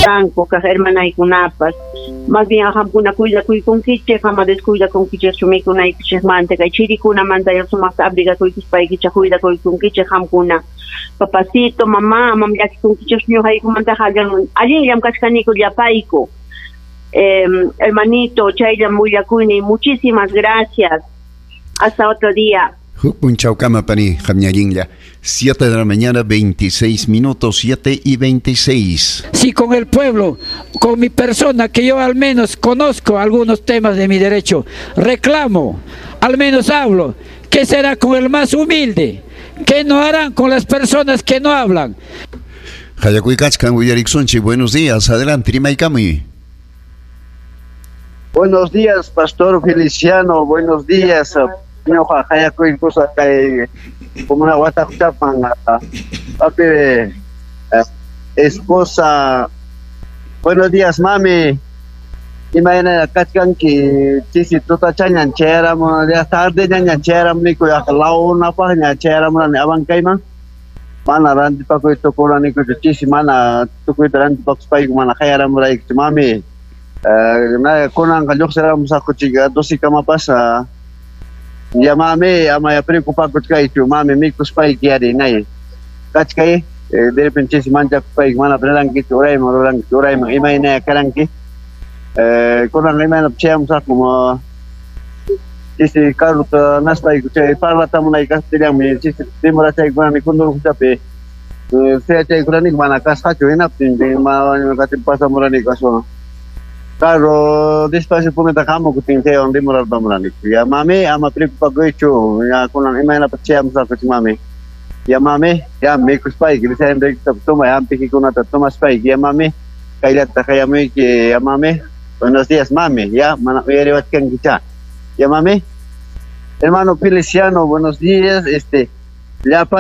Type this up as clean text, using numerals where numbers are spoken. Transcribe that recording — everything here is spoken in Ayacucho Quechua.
Kanku kaq hermanaykunapas. Más bien qamkuna cuidakuykunkichik, ama descuidakunkichikchu mikunaykichikmanta, kay chirikunamanta sumaqta abrigakuykuspaykichik cuidakuykunkichik qamkuna. Papacito, mamá, amam llakikunkichikchu ñuqaykumantaqa allinllam kachkaniku llapayku. Hermanito, chayllam willakuyniy, muchísimas gracias. Hasta otro día. Huk punchawkama pani qamña allinlla. 7 de la mañana, 26 minutos, 7:26. Si con el pueblo, con mi persona, que yo al menos conozco algunos temas de mi derecho, reclamo, al menos hablo, ¿qué será con el más humilde? ¿Qué no harán con las personas que no hablan? Hayakuykachkan uyariksunchik, buenos días, adelante, rimaykamuy. Buenos días, Pastor Feliciano, buenos días. Ñuqa hayakuykusa kay como una watakuchapan papi esposa. Buenos días, mami. Imayna kachkanki chisi tutachañan chayaramu ya tarde ñaña chayaramuniku yaqa launapaqña chayaramurani Abancayman. Mana rantipakuy tukuranikuchu chisi mana tukuyta rantipakuspayku mana hayaramuraykuchu mami. Kunanqa lluqsiramusaqku chika 12 kama Ya mami, ama ya preocupakuchkaychu mami mikuspayki ari nay. Kachkay, de repente chisi manchakuspayki mana rurankichu urayman rurankichu urayman imaynaya karanki. Kunan imayna chayamusaqku chisi carruta naspayku chay parlatamunay castellanmi chisi demorachaykunani Condorcochapi suyachaykuraniku mana kasqachu hinaptin mana pasamuraniku aswan. Carro despacio punita hamukutin chaywan demorarpamuraniku. Ya mami, ama preocupakuychu, ya kunan imaynapas chayamusaqku mami. Ya mami, ya mikuspayki, desayunoykita tomay, hampikikunata tomaspayki, ya mami, kayllata hayamuyki, ya mami. Buenos días, mami, ya, mana uyariwachkankicha. Ya mami. Hermano Feliciano, buenos días, llapa